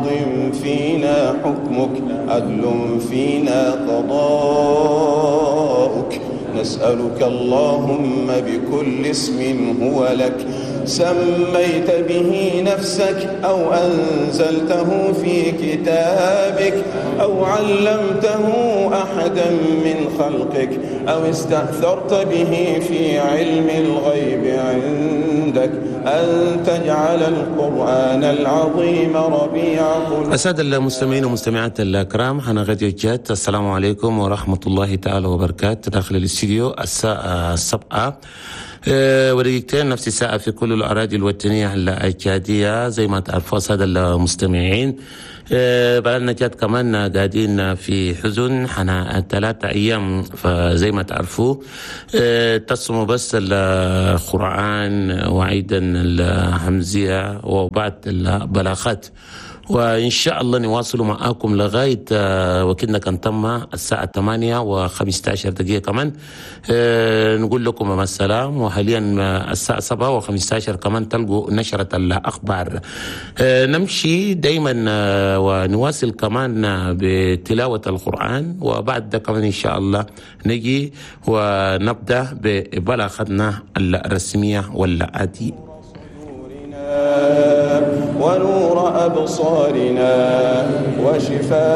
ماض فينا حكمك، عدل فينا قضاؤك. نسألك اللهم بكل اسم هو لك سميت به نفسك، أو أنزلته في كتابك، أو علمته أحدا من خلقك، أو استأثرت به في علم الغيب عندك، أن تجعل القرآن العظيم ربيع قلوبنا. السادة المستمعين والمستمعات الكرام، هنا راديو تشاد، السلام عليكم ورحمة الله تعالى وبركاته. داخل الاستديو الساعة 7:02، نفس الساعة في كل الأراضي الوطنية التشادية. زي ما تعرفوا السادة المستمعين، بلدنا تشاد كمان قاعدين في حزن حنا 3 أيام، فزي ما تعرفوا تصموا بس القرآن وأيضا الهمزية وبعض البلاغات، وإن شاء الله نواصل معاكم لغاية وكنا كان تم الساعة 8:15 كمان نقول لكم مع السلام. وحاليا الساعة 7:15 كمان تلقوا نشرة الأخبار. نمشي دايما ونواصل كمان بتلاوة القرآن، وبعد ده كمان إن شاء الله نجي ونبدأ ببلاغتنا الرسمية والعادية. ونور أبصارنا وشفاء